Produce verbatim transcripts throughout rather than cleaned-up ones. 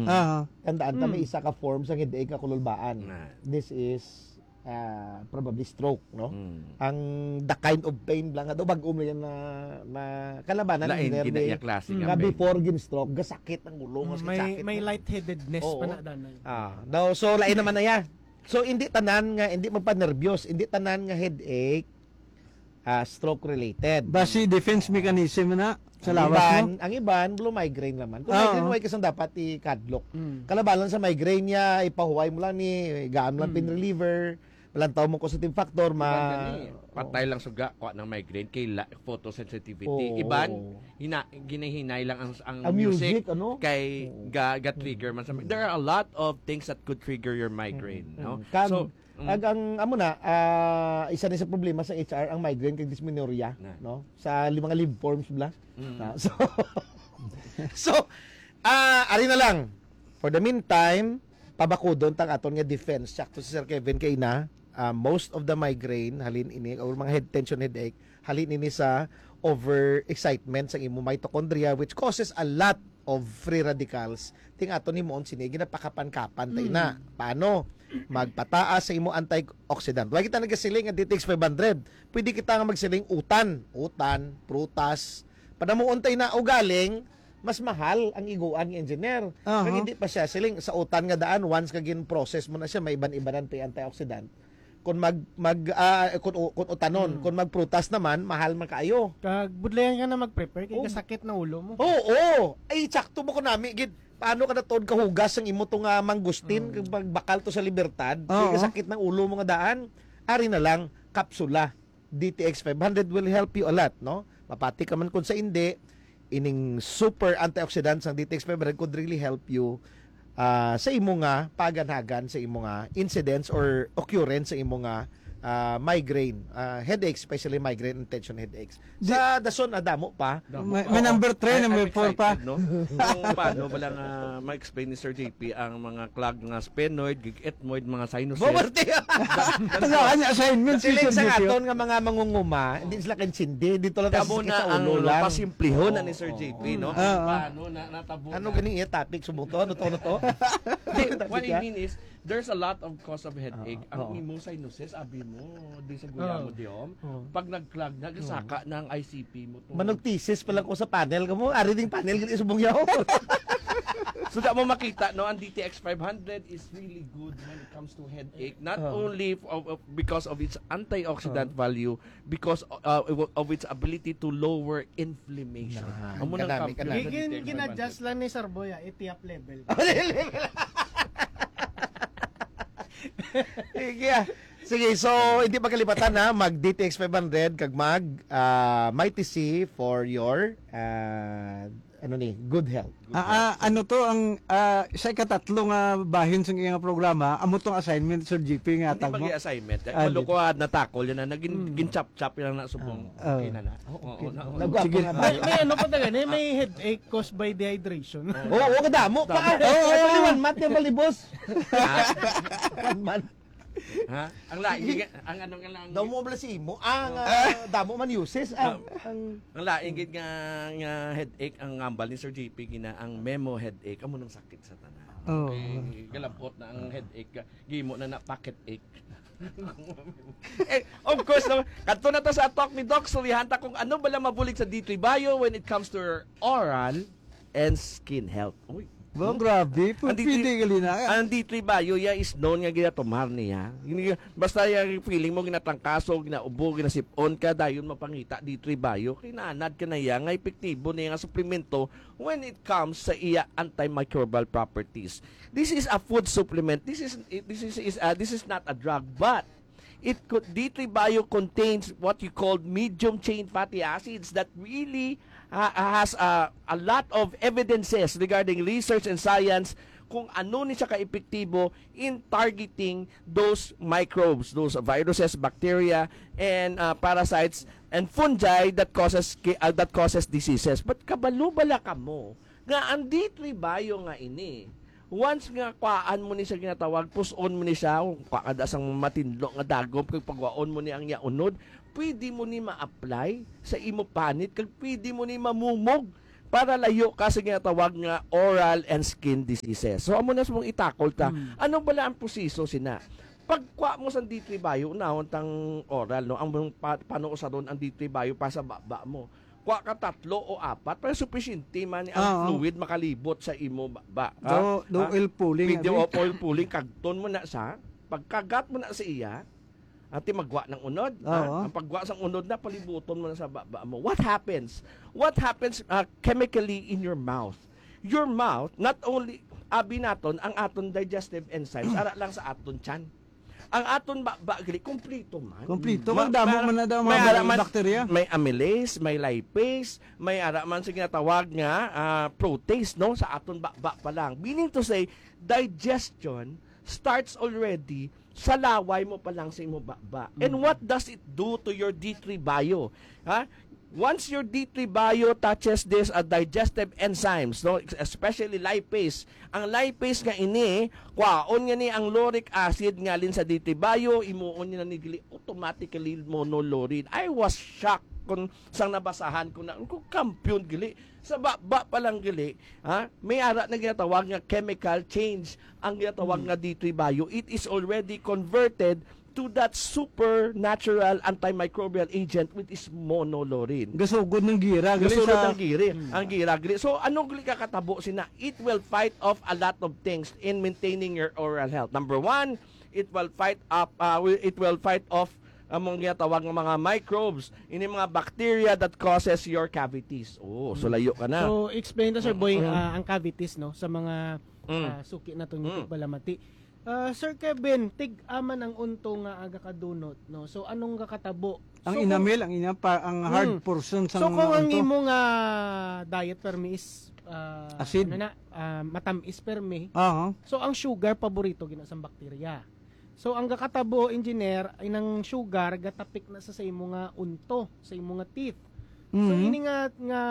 Mm. Aha. Tandaan ta, may Mm. isa ka form sa headache nga kululbaan. Na. This is, ah, probably stroke, no? Mm. Ang the kind of pain lang nga daw, bag-o mo yan na, na kalabanan, Lain, hindi na nerve, iya klase nga nga pain. Before gin-stroke, gasakit ang ulo, nga May, sakit may na. Lightheadedness Oo. pa na, danay. Ah, daw, so, lain naman na yan. So, hindi tanan nga, hindi magpanerbyos, hindi tanan nga headache, ah, stroke-related. Basi defense mechanism na sa Ang lawas iban, mo. Ang iban, blue migraine naman. Kung Oo. Migraine, why kasang dapat ikadlok? Mm. Kalabanan sa migraine niya, ipahuway mo lang ni, gaan lang Mm. pain reliever, malantaw mo causative factor, ma- Iban gani, patay lang suga, kuha ng migraine, kay la-, photosensitivity. Oo. Iban, hina-, ginahinay lang ang, ang Ang music, music, ano? kay Oo. ga-, ga-trigger man sa mi-, there are a lot of things that could trigger your migraine, Mm, no? mm. Kag, So, mm. ag-, ang, amo na, ah, isa ni sa problema sa H R, ang migraine kag dysmenorrhea, Na. no? Sa li-, mga live forms bla. Mm. Ah, so, so, ah, ari na lang. For the meantime, pabakudon tang aton nga defense. Sakto si Sir Kevin kay na, ah, most of the migraine, halin ini, or mga head tension headache, halin ini sa overexcitement sa imo mitochondria, which causes a lot of free radicals. Ting aton himuon sini, ginapakapan-kapan ta ina. Mm. Paano? Magpataas sa imo antioxidant. Wala kita nagasiling nga D T X five hundred. Pwede kita nga magsiling utan. Utan, prutas. Panamuon tayo na ugaling, mas mahal ang iguan nga engineer. Aha. Kag hindi pa siya siling sa utan nga daan, once ka gin-process mo na siya, may iban-ibanan pa yung antioxidant. Kung mag, mag, ah, kung, kung utanon, Mm. kung magprutas naman, mahal man kaayo. Kag budlayan ka na mag-prepare, kay Oh. kasakit na ulo mo. Oo, oo. Ay, sakto mo ko nami, gid. Paano ka na tuod kahugas ang imo to nga mangustin, Oo. kag magbakal to sa libertad, Oo. kay kasakit ng ulo mo nga daan? Ari na lang, kapsula. D T X five hundred will help you a lot, no? Mapati ka man kung sa indi, ining super antioxidants ng D T X five hundred could really help you, ah, sa imo nga paganhagan, sa imo nga incidence or occurrence sa imo nga, ah, migraine, ah, headaches, especially migraine and tension headaches. Di- Sa dason, ah, damo pa. Damo May, pa. may number three, I, I'm number four pa. excited, no? Kung paano ba lang, ah, ma-explain ni Sir J P ang mga clog nga sphenoid, gig-ethmoid, mga sinuses? Bumarte! Ano, ano assignment si Siling Sir sa J P? Aton nga mga mangunguma, hindi sila kaintindi, dito lang Kamo sa na sa ang ulo lang. Pasimplihon na ni Sir Oo. J P, no? Oo. Paano na natabo Ano na? Gani iya topic? Subong to? Ano to? Ano to? Hindi, Topic what I niya? mean is, there's a lot of cause of headache. Oo. Ang Oo. imo sinuses, abi mo, di sa guya Oo. mo, di om. Oo. Pag nag-clog na, Oo. saka na ang I C P mo to. Manugtisis pa lang ko sa panel ka mo. Ari ding panel, gani subong yaw. So, da mo makita, no, ang D T X five hundred is really good when it comes to headache. Not Oh. only f-, of, of, because of its antioxidant Oh. value, because, uh, of its ability to lower inflammation. Nah, Amo nang kanami, kampiyon kanami. sa Gin-, D T X five hundred. Gin-adjust lang ni Sir Boy, ah, itiap level. Sige, ah. Sige, so, hindi pagkalipatan, ha, mag D T X five hundred, kag mag, ah, Mighty C for your, ah, ano ni, good health. Good Ah, health. Ah, ano to ang, ah, sa ikatatlo nga bahin sa iyang programa, amo tong assignment, Sir G P, nga Hindi hatag mo? Mag-assignment. Ah, Maluko, di. Ah, natakol yan na. Naging, Mm. gin-chop-chop yan na subong. Ah. Okay na na. Oh, okay. Oo, na, oo. Nagwapo Sige. Nga ba? May, may ano pa talaga, may, may headache caused by dehydration. Oo, oo, kadamo pa. Damo. Oo, oo. Actually, one month yung balibos. Ha? One month. Ha? Ang lain, Sige. Ang ano nga lang. Daw mo bala si imo. Ang, Oh. Ah. Ah, damo man uses. Ang, Dam-, ang ang lain gid nga, nga headache ang ngambal ni Sir J P gina ang memo headache. Amo nang sakit sa tanan. Oh. Okay, galabot na ang headache. Gimo na na pocket ache. Eh, of course, no? Kadto na ta sa talk ni Doc. Sulihan ta kung ano bala mabulig sa D three Bio when it comes to oral and skin health. Uy. Wow, grabe. Ang D three, Pwede gali na. Ang D three Bio, ya, is known nga ginatumar niya. Hindi, basta yung feeling mo, ginatangkaso, ginaubo, ginasipon ka, dayon mapangita, D three Bio. Kinanad ka na iya, nga epektibo niya nga suplemento when it comes sa iya antimicrobial properties. This is a food supplement. This is, this is, is, uh, this is not a drug, but it could, D three Bio contains what you called medium chain fatty acids that really, uh, has, uh, a lot of evidences regarding research and science kung ano ni siya ka-epektibo in targeting those microbes, those viruses, bacteria, and, uh, parasites and fungi that causes ki-, uh, that causes diseases. But kabalo bala kamo nga ang D three Bio nga ini, once nga kuhaan mo ni siya ginatawag, pus-on mo ni siya, kung kuhaan da sang matinlo nga dagom, kag pagwaon mo ni ang iya unod, pwede mo ni ma-apply sa imo panit, kag pwede mo ni mamumog. para layo ka sa ginatawag nga oral and skin diseases. So, amo na sa mong itakol ta. Mm. Ano bala ang proseso sina? Pagkuha mo sa D three Bio, unahon tang oral, no? Ang mong pa-, panuusaron ang D three Bio para sa baba mo. Kuha ka tatlo o apat, para sufisyente man ang Oo. fluid makalibot sa imo baba. Ha? Do, do Ha? oil pulling, Pwede abi? o oil pulling, kagton mo na sa, pagkagat mo na sa iya, ati magwa ng unod. Ha? Oo. Ang pagwa sang unod na, palibuton mo na sa baba mo. What happens? What happens, uh, chemically in your mouth? Your mouth, not only, abi naton, ang aton digestive enzymes, ara lang sa aton tiyan. Ang aton baba, gali, kompleto man. Kompleto. Ma-, Ang damo may, man na daw may mga ara man, bakterya. May amylase, may lipase, may ara man sa ginatawag nga, ah, protease, no? Sa aton baba pa lang. Meaning to say, digestion starts already sa laway mo pa lang sa imo baba. And Mm. what does it do to your D three Bio? Ha? Once your D three Bio touches this, uh, digestive enzymes, no, especially lipase, ang lipase nga ini, kwaon nga ni ang lauric acid nga alin sa D three Bio, imuon niya ni gali automatically monolaurin. I was shocked kung sang nabasahan ko na, kung kampiyon gali, sa baba pa lang gali, ha? May ara na ginatawag nga chemical change ang ginatawag Hmm. nga D three Bio. It is already converted to that supernatural antimicrobial agent, which is monolaurin. Gasugod ng gira, gali Gasunod sa ang giri, Hmm. ang gira, gali. So, ano gali kakatabo sina? It will fight off a lot of things in maintaining your oral health. Number one, it will fight up, uh, wi-, it will fight off among ginatawag nga mga microbes, ini mga bacteria that causes your cavities. Oh, so Mm. layo ka na. So, explain to, Sir Boy, Mm. ah, ang cavities, no, sa mga, Mm. ah, suki naton Mm. tigbalamati. Ah, Sir Kevin, tig-a man ang unto nga aga kadunot, no? So, anong kakatabo? Ang So, kung enamel, ang ina-, pa-, ang hard Mm. portion sa So, kung ang unto. imo nga diet permi is, ah, Acid. ano na, ah, matamis permi, Aha. so ang sugar paborito gina sang bakterya. So, ang gakatabo, engineer, ay nang sugar gatapik na sa, sa imo nga unto, sa imo nga teeth. So, Mhm. ini nga, nga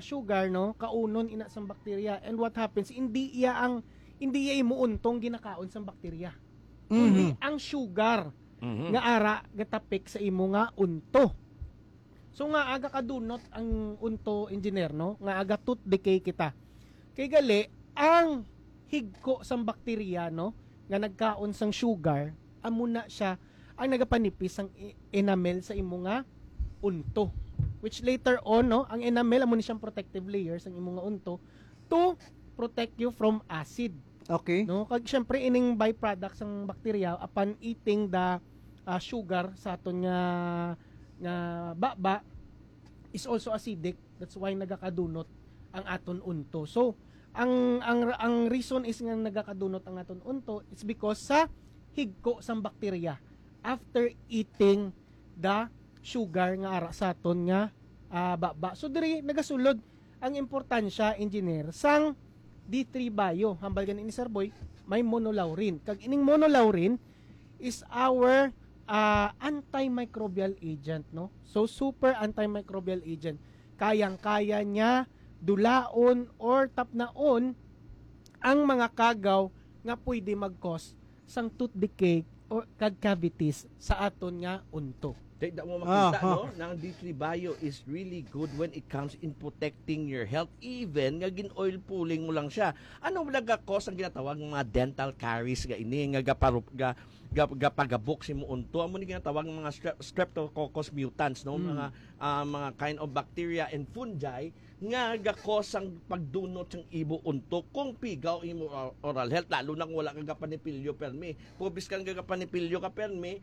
sugar, no, kaunon ina sang bakterya. And what happens, hindi iya ang, hindi iya imo untong ginakaon sang bakterya. Mhm. Kundi ang sugar Mhm. nga ara gatapik sa imo nga unto. So, nga aga kadunot ang unto, engineer, no? Nga aga tooth decay kita. Kay gali, ang higko sang bakterya, no, nga nagkaon sang sugar, amo na siya ang nagapanipis sang e-, enamel sa imo nga unto. Which later on, no, ang enamel amo ni siyang protective layer sang imo nga unto to protect you from acid. Okay. No? Kag syempre, ining byproduct sang bakterya upon eating the, ah, sugar sa aton nga, nga baba is also acidic. That's why nagakadunot ang aton unto. So, ang, ang, ang reason is nga nagakadunot ang aton unto, it's because sa higko sang bakterya after eating the sugar nga ara sa aton nga, ah, baba. So, diri nagasulod ang importansya, engineer, sang D three Bio. Hambal gani ni Sir Boy, may monolaurin. Kag ining monolaurin is our, ah, antimicrobial agent, no? So, super antimicrobial agent. Kayang-kaya niya dulaon or tapnaon ang mga kagaw nga pwede mag-cause sang tooth decay o kag cavities sa aton nga unto. Kay da mo makita, Aha. no, na ang D three Bio is really good when it comes in protecting your health, even nga gin-oil pulling mo lang siya. Ano wala ga cause ang ginatawag nga mga dental caries nga ini, nga gaparup-, ga-, ga-, gapagabok si mo unto? Amo ni ginatawag nga mga strep-, streptococcus mutans, no? Mm. Mga, ah, mga kind of bacteria and fungi nga gakos ang pagdunot sang imo unto kung pigaw imo or-, oral health, lalo na kung wala ka gapanipilyo permi. Kung biskan ka gapanipilyo ka permi,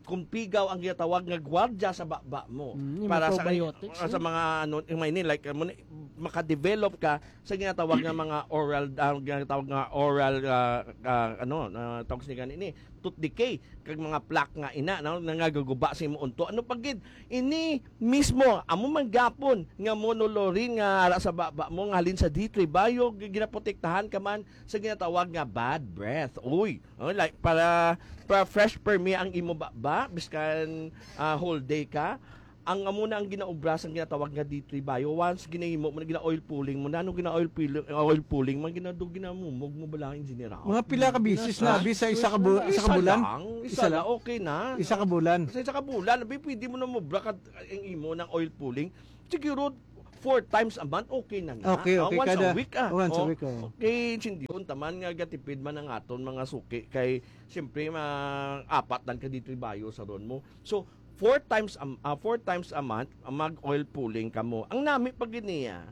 kung pigaw ang ginatawag nga gwardiya sa baba mo. Mm, yung para mga sa, probiotics, sa no? mga ano, yung mga ini, like, amo ni, makadevelop ka sa ginatawag nga mga oral, ah, ginatawag nga oral, ah, ah, ano, ah, tawag sa gani ni, tooth decay, kag mga plaque nga ina, no, nangagaguba sa imo unto. Ano pa gid? Ini mismo, amo man gyapon nga monolaurin nga ara sa baba mo, nga halin sa D three Bio, gi-, ginaprotektahan ka man sa ginatawag nga bad breath. Uy, oh, like, para, para fresh permi ang imo baba, biskan, ah, whole day ka. Ang amo na ang ginaobra sang ginatawag nga D three Bio. Once ginahimo mo na, gina-oil pulling mo na. Ano gina-oil pulling, oil pulling man, ginado-, ginamumog mo bala ang general. Mga pila ka beses na, Isa? abi, sa isa ka bu-, Isa isa ka bulan? lang. Isa Isa lang, lang? okay na. Isa ka bulan. Sa isa ka bulan, abi, pwede mo na mobra ka ang imo ng oil pulling. Siguro, four times a month, okay na nga. Okay, Ah, okay, once a kada- week, ah. once a Oh, week, oh. Okay, sindi yun, taman nga gatipid man ang aton mga suki kay siyempre ma-, apat lang ka D three Bio sa ron mo. So, four times a, ah, four times a month, ah, mag-oil pulling ka mo. Ang nami pa gid niya,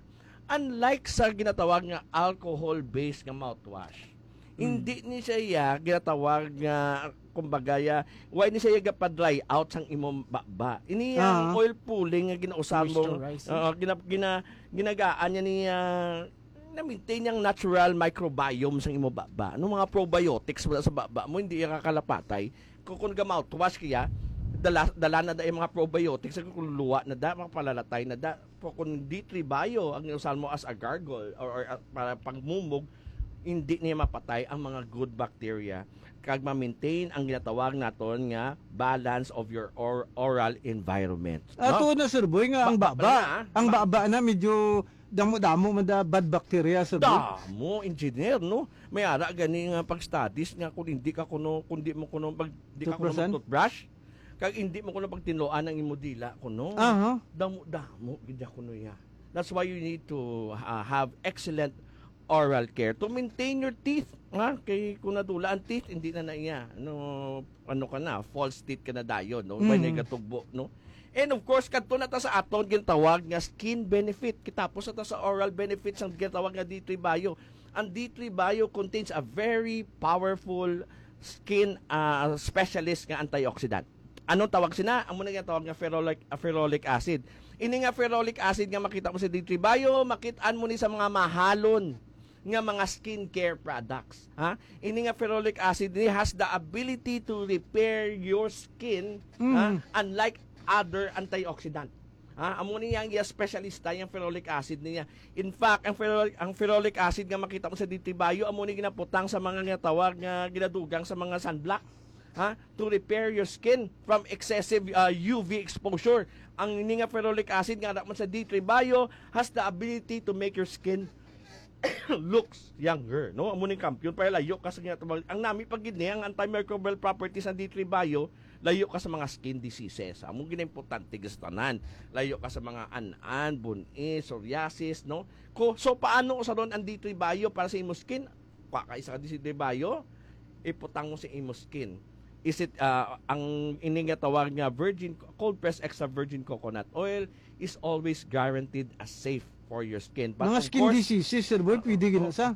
unlike sa ginatawag nga alcohol-based nga mouthwash, hindi ni siya iya ginatawag nga, kumbaga, ya, why ni siya iya gapa-dry out sang imong baba. Ini ang Ah. oil pulling nga ginausar mo. Moisturizing. Oo, gina, gina, ginagaan niya ni, ah, na-maintain yung natural microbiome sang imong baba. Ano, mga probiotics wala sa baba mo, hindi iya kakalapatay. Kung, kung ga-mouthwash kaya, dala, dala na da yung mga probiotics, kung luwa na da, makapalalatay na da. Pero kung D three Bio ang iusahan mo as a gargle or, or, uh, para pagmumog, hindi niya mapatay ang mga good bacteria kag ma-maintain ang ginatawag naton nga balance of your or, oral environment. Ato na, Sir Boy, nga ang Ba- baba, ba- ang ba- baba na medyo damo-damo man da bad bacteria, Sir Boy. Damo, engineer, no? May ara gani nga pag-studies nga kung hindi ka kuno, kung di mo kuno, pag, di ka kuno Toothbrushan? Mag-toothbrush, kag hindi mo kuno pagtinloan ang imo dila kuno. Aha. Damo-damo gid kuno ya. That's why you need to uh, have excellent oral care to maintain your teeth. Ha? Kay kung nadula ang teeth, hindi na na iya. Ano, ano ka na, false teeth ka na dayon, no? May Mm. nagatugbo, no? And of course, kadto na ta sa aton gintawag nga skin benefit. Kitapos na ta sa oral benefits ang gintawag nga D three Bio. Ang D three Bio contains a very powerful skin uh, specialist nga antioxidant. Anong tawag sina? Amo na ginatawag nga ferolic, uh, ferolic acid. Ini nga ferolic acid nga makita mo sa D three Bio, makitaan mo ni sa mga mahalon nga mga skincare products. Ha? Ini nga ferolic acid ni has the ability to repair your skin, ha? Mm. Unlike other antioxidant. Ha? Amo ni yang iya specialista, yang ferolic acid niya. In fact, ang ferolic, ang ferolic acid nga makita mo sa D three Bio, amo ni ginaputang sa mga nga tawag nga ginadugang sa mga sunblock. Ha? To repair your skin from excessive uh, U V exposure. Ang ini nga ferolic acid nga anak man sa D three Bio has the ability to make your skin looks younger, no? Amo ning kampiyon para layo ka sa ginatawag. Ang nami pa gid ni ang antimicrobial properties ng D three Bio, layo ka sa mga skin diseases. Amo gid ang importante sa tanan. Layo ka sa mga an-an, bun-i, psoriasis, no? Ko, so paano sa ron ang D three Bio para sa imo skin? Kwa ka isa ka D three Bio, iputang mo sa imo skin. Is it uh, ang ini nga tawag nga virgin, cold pressed extra virgin coconut oil is always guaranteed as safe for your skin. But Mga of skin course, diseases, Sir Boy, pwede gina sa.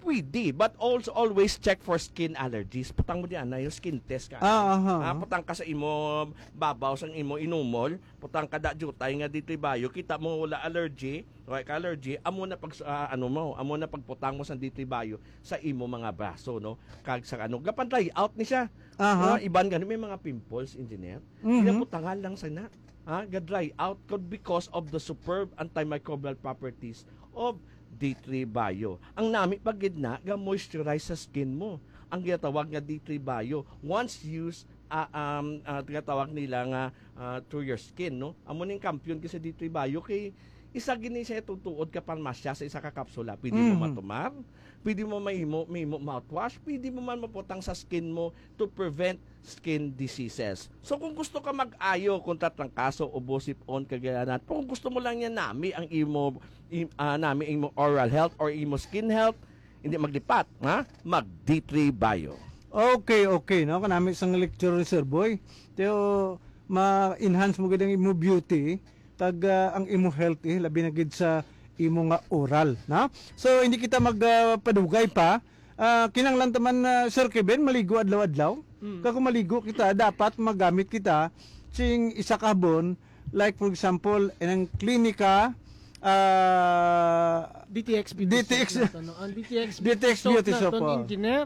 Pwede, but also always check for skin allergies. Putang mo diyan na yung skin test ka. Ah, aha. Ah, putang ka sa imo babaw sang imo inumol, putang ka da jutay nga D three Bio, kita mo wala allergy, wala ka allergy, amo na pag ah, ano mo, amo na pagputang mo sa D three Bio sa imo mga braso, no? Kag sa ano, gapan dry out ni siya. Aha. Mga iban gani may mga pimples, engineer. Mhm. Ginaputangan lang sa na. Ha? Ga-dry out ko because of the superb antimicrobial properties of D three Bio. Ang nami pa gid na ga moisturize sa skin mo. Ang ginatawag nga D three Bio. Once used, ah, um, ah, ginatawag nila nga ah, through your skin, no? Amo ning kampiyon kay sa D three Bio kay isa gini siya tutuod ka parmasya sa isa ka kapsula. Pwede mo Mhm. matumar, pwede mo mahimo, mahimo mouthwash, pwede mo man maputang sa skin mo to prevent skin diseases. So kung gusto ka mag-ayo kontra trangkaso, ubo, sip-on, kagayanan, pero kung gusto mo lang yan nami ang imo im, ah, nami imo oral health or imo skin health, hindi maglipat, ha? Mag D three Bio. Okay, okay, no? Kanami sang lecture ni Sir Boy. Teo, ma-enhance mo gid ang imo beauty, kag ah, ang imo health, eh, labi na gid sa imo nga oral, na? So, hindi kita magpadugay pa. Ah, kinahanglan ta man, ah, Sir Kevin, maligo adlaw-adlaw. Mm. Kag kung maligo kita, dapat magamit kita sing isa ka habon, like for example, ang Clinica, ah, D T X Beauty D T X. Soap nato, no? Ang D T X D T X Beauty Soap, naton, oh. Engineer,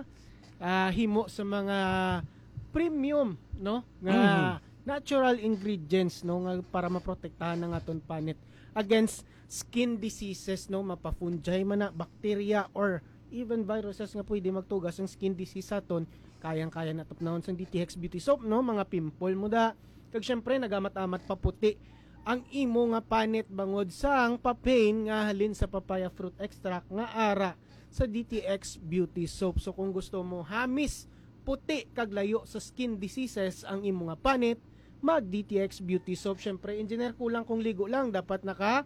ah, himo sa mga premium, no? Nga Mhm. natural ingredients, no, nga para maprotektahan ang aton panit against skin diseases, no, mapa-fungi man na, bacteria, or even viruses nga pwede magtugas ang skin disease sa aton. Kayang-kaya na tapnahon sang D T X Beauty Soap, no? Mga pimple mo da. Kag syempre, nagamat-amat paputi ang imo nga panit bangod sang papain nga halin sa papaya fruit extract nga ara sa D T X Beauty Soap. So kung gusto mo hamis, puti kag layo sa skin diseases ang imo nga panit, mag D T X Beauty Soap. Syempre, engineer, kulang kung ligo lang, dapat naka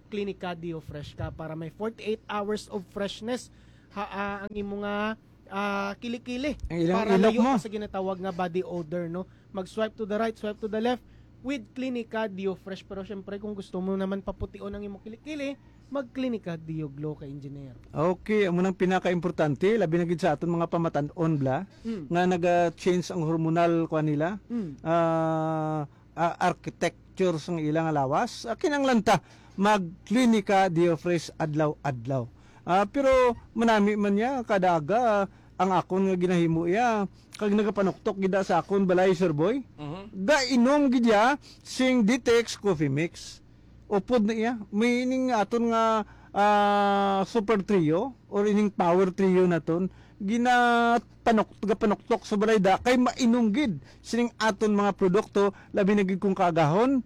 Clinica Deo Fresh ka para may forty-eight hours of freshness ha, ah, ang imo nga ah, kilikili Ang ilang para ilok layo mo. ka sa ginatawag nga body odor, no? Mag-swipe to the right, swipe to the left with Clinica Deo Fresh. Pero syempre, kung gusto mo naman papution ang imo kilikili, mag-Clinica Deo Glow ka, engineer. Okay, amo nang pinakaimportante, labi na gid sa aton mga pamatan-on bla, Mm. nga naga-change ang hormonal kwa nila. Mm. Ah, ah, architecture sang ilang lawas. Ah, kinahanglan ta mag-Clinica Deo Fresh adlaw-adlaw. Ah, pero manami man niya kada aga ang akon nga ginahimo iya kag nagapanuktok gid sa akon balay, Sir Boy. Mhm. Gainom gid iya sing Ditex Coffee Mix. Upod na iya. May ining aton nga ah, Super Trio or ining Power Trio naton ginapanok gapanuktok sa balay da kay mainom gid sining aton mga produkto, labi na gid kung kaagahon,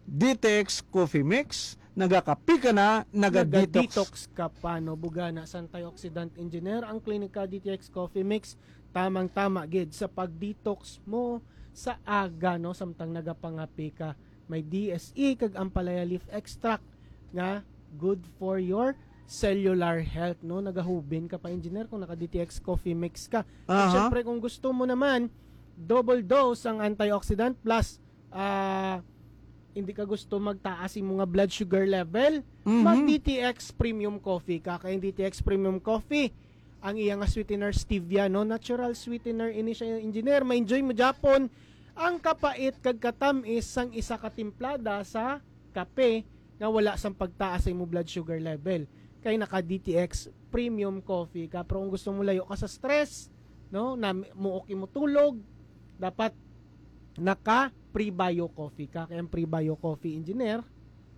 Ditex Coffee Mix, nagakape ka na, naga-detox. Naga-detox ka pa, no? Bugana sa antioxidant, engineer, ang Clinica D T X Coffee Mix, tamang-tama gid sa pag-detox mo sa aga, no? Samtang nagapangape ka. May D S E kag ampalaya leaf extract nga good for your cellular health, no? Nagahubin ka pa, engineer, kung naka-D T X Coffee Mix ka. At Aha. syempre, kung gusto mo naman, double dose ang antioxidant plus ah, hindi ka gusto magtaas imo nga blood sugar level, Mhm. mag D T X Premium Coffee ka. Kay ang D T X Premium Coffee, ang iya nga sweetener stevia, no? Natural sweetener ini siya, engineer. Ma-enjoy mo gyapon ang kapait kag katamis sang isa ka timplada sa kape nga wala sang pagtaas sa imo blood sugar level. Kay naka D T X Premium Coffee ka. Pero kung gusto mo layo ka sa stress, no, na muok imo tulog, dapat naka Prebio Coffee ka. Kay ang Prebio Coffee, engineer,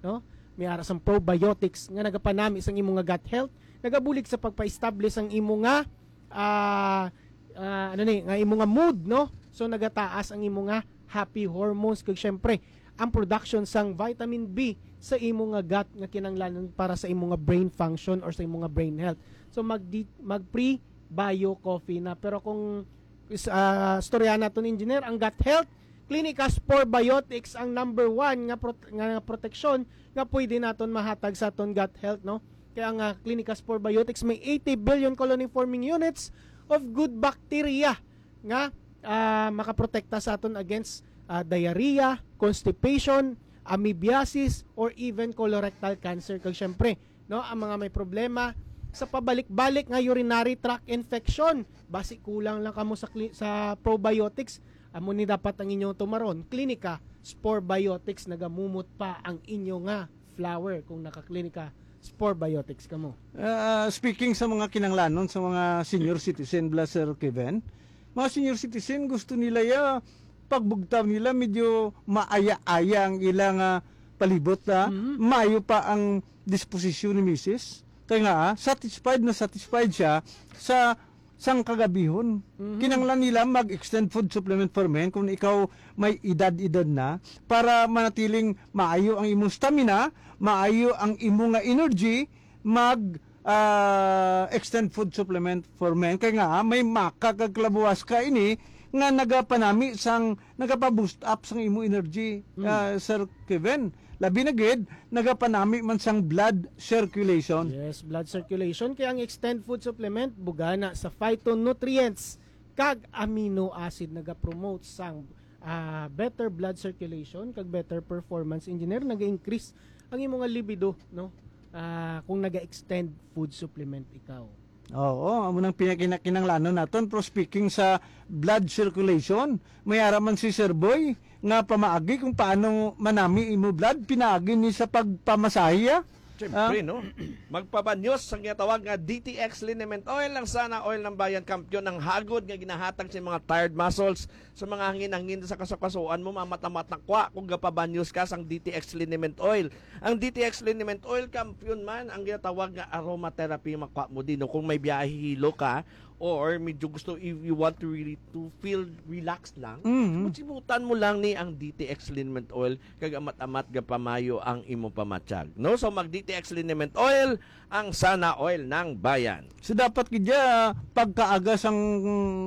no, may ara sang probiotics nga nagapanami sang imo nga gut health, nagabulig sa pagpa-establish ang imo nga ah, ah, ano ni, nga imo nga mood, no? So nagataas ang imo nga happy hormones kag syempre ang production sang vitamin B sa imo nga gut nga kinahanglanon para sa imo nga brain function or sa imo nga brain health. So mag mag Prebio Coffee na. Pero kung is- ah, storya naton, engineer, ang gut health, Clinica Spore Biotics ang number one nga prot- nga proteksyon nga pwede naton mahatag sa aton gut health, no? Kaya nga, Clinica Spore Biotics may eighty billion colony forming units of good bacteria nga ah, makaprotekta sa aton against ah, diarrhea, constipation, amoebiasis, or even colorectal cancer. Kag syempre, no, ang mga may problema sa pabalik-balik nga urinary tract infection, basi kulang lang kamo sa cli- sa probiotics, amo ni dapat ang inyong tumaron. Clinica Spore Biotics, nagamumot pa ang inyo nga flower kung naka-Clinica Spore Biotics kamo. Ah, speaking sa mga kinanglanon sa mga senior citizen, bla, Sir Kevin, mga senior citizen, gusto nila ya pagbugtaw nila medyo maaya-aya ang ilang ah, palibot na Mhm. maayo pa ang disposisyon ni misis. Kaya nga, ah, satisfied na satisfied siya sa sang kagabihon. Mhm. Kinanglan nila mag-extend food supplement for men kung ikaw may edad-edad na para manatiling maayo ang imong stamina, maayo ang imo nga energy, mag ah, extend food supplement for men. Kaya nga, ah, may maka kag kalabuwas ka ini nga nagapanami sang nagapa-boost up sang imo energy, Mm. ah, Sir Kevin. Labi na gid, nagapanami man sang blood circulation. Yes, blood circulation. Kaya ang extend food supplement, bugana sa phytonutrients kag amino acid, nagapromote sang ah, better blood circulation kag better performance, engineer, nag-increase ang imo nga libido, no? Ah, kung naga-extend food supplement ikaw. Oo, amo nang pinakinakinanglanon naton. Pero speaking sa blood circulation, may ara man si Sir Boy nga pamaagi kung paano manami imo blood, pinaagi ni sa pagpamasahe, ah. Siyempre, Ah. no? Magpabanyos sa ginatawag nga D T X liniment oil, ang Sana Oil ng Bayan, kampiyon, ang hagod nga ginahatag sa mga tired muscles, sa mga hangin-hangin sa kasukasuan mo, mamatamat na kwa kung gapabanyos ka sang D T X liniment oil. Ang D T X liniment oil, kampiyon man, ang ginatawag nga aromatherapy, makwa mo din, no? Kung may biyahe hilo ka, or medyo gusto, if you want to really to feel relaxed lang, Mhm. simutan mo lang ni ang D T X Liniment Oil, kag amat-amat gapamayo ang imo pamatyag. No? So mag D T X Liniment Oil, ang sana oil ng bayan. So dapat gid ya pagkaaga sang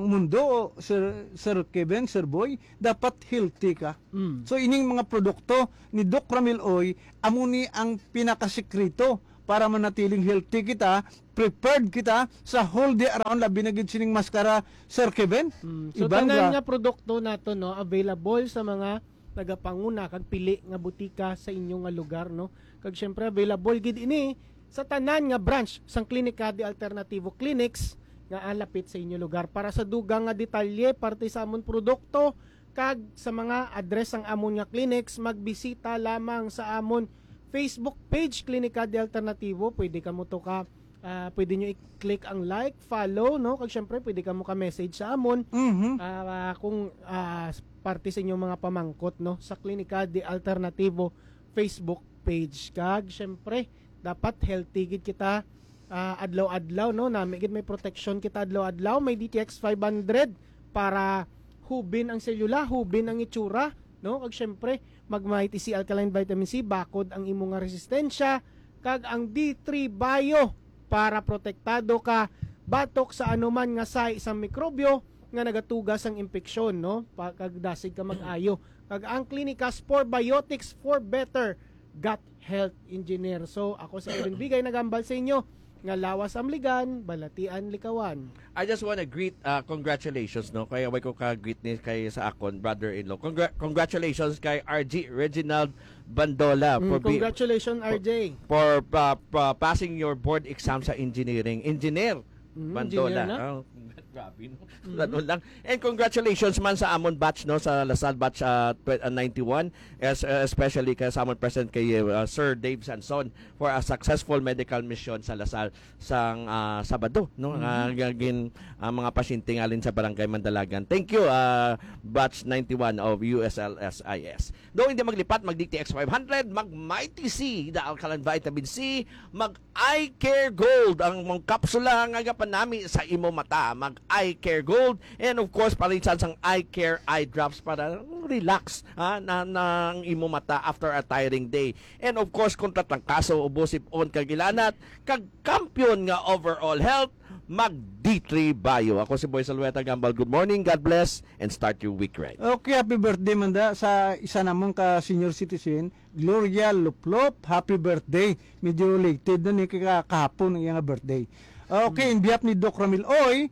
mundo, Sir Sir Kevin, Sir Boy, dapat healthy ka. Mm. So ining mga produkto ni Doc Ramil Oy, amo ni ang pinakasikreto para manatiling healthy kita, prepared kita sa whole day around, labi na gid sining maskara, Sir Kevin. Mm. So Iban tanan ba? Nga produkto nato, no, available sa mga nagapanguna kag pili nga butika sa inyo nga lugar, no. Kag syempre available gid ini sa tanan nga branch sang Klinika de Alternativo Clinics nga alapit sa inyo lugar. Para sa dugang nga detalye parte sa amon produkto kag sa mga address sang amon nga clinics, magbisita lamang sa amon Facebook page, Klinika de Alternativo. Pwede kamo to ka ah, pwede nyo i-click ang like, follow, no? Kag syempre pwede kamo ka-message sa amon. Mhm. Ah, kung ah, parte sa inyong mga pamangkot, no, sa Klinika de Alternativo Facebook page. Kag syempre dapat healthy gid kita ah, adlaw-adlaw, no? Nami gid may protection kita adlaw-adlaw, may D T X five hundred para hubin ang selula, hubin ang itsura, no? Kag syempre, mag Mighty C Alkaline Vitamin C, bakod ang imo nga resistensya, kag ang D three Bio para protektado ka batok sa anuman nga sahi sang mikrobyo nga nagatuga sang impeksyon, no? Pa, kag dasig ka mag-ayo. Kag ang Clinicas Four Biotics for Better Gut Health Engineer. So, ako si Irwin Bigay, nagambal sa inyo nga lawas amligan, balatian likawan. I just wanna greet, uh, congratulations, no? Kaya way ko ka-greet ni kay sa akon, brother-in-law. Congra- congratulations kay R G Reginald Bandola Mm, for be- congratulations, R J. for uh, pa- passing your board exam sa engineering. Engineer Mm, Bandola. engineer na? Oh, grabe, no? Ganun lang. And congratulations man sa amon batch, no, sa Lasal batch uh, tw- uh, ninety-one, es- uh, especially kay sa amon president kay uh, Sir Dave Sanson for a successful medical mission sa Lasal sang ah, Sabado, no? Nga nga gin ang mga pasyente ngalin sa Barangay Mandalagan. Thank you, ah, batch ninety-one of U S L S I S. Do hindi maglipat, mag D T X five hundred, mag Mighty C, the alkaline vitamin C, mag Eye Care Gold, ang mga kapsula nga gapanami sa imo mata, mag Eye Care Gold, and of course, parinsan sang Eye Care Eye Drops para relax, ha, na, na ang imo mata after a tiring day. And of course, kung tatrangkaso, ubos, sip-on, kag ilanat, kag kampiyon nga overall health, mag D three Bio. Ako si Boy Salueta Gambal. Good morning, God bless, and start your week right. Okay, happy birthday man da sa isa namon ka senior citizen, Gloria Luplop. Happy birthday. Medyo related na ni kay ka- kahapon ang iyang birthday. Okay, in behalf ni Doc Ramil Oy,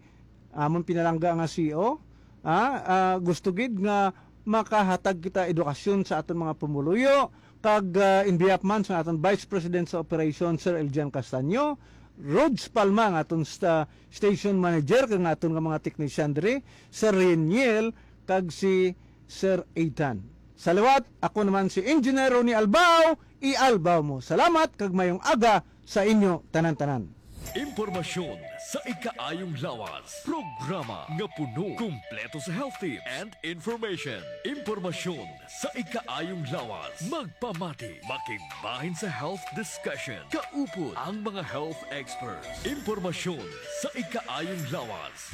amon pinalangga nga C E O, ah, ah, gusto gid nga makahatag kita edukasyon sa aton mga pumuluyo, kag ah, in behalf man sa aton Vice President sa Operation, Sir Eljan Castaño, Rods Palma, ang aton sta- station manager, kag ang aton nga mga technician diri, Sir Reniel kag si Sir Ethan. Sa liwat, ako naman si Engineer Ronnie Albao. Ialbaw mo. Salamat kag mayong aga sa inyo tanan-tanan. Impormasyon sa ikaayong lawas. Programa nga puno, kumpleto sa health tips and information. Impormasyon sa ikaayong lawas. Magpamati, makigbahin sa health discussion. Kaupod ang mga health experts. Impormasyon sa ikaayong lawas.